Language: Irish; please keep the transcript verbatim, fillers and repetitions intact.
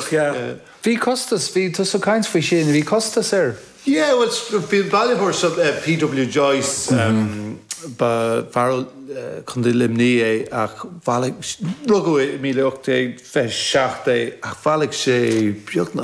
Iontach, yeah. Bhí costas bhí tú caint faoi sin, bhí costas air. Yeah, well, bhí bailitheoir seo uh, P.W. Joyce um, ba fear uh, Contae Luimnigh é ach rugadh míle ocht déag fiche seacht é ach bhailigh sé beagnach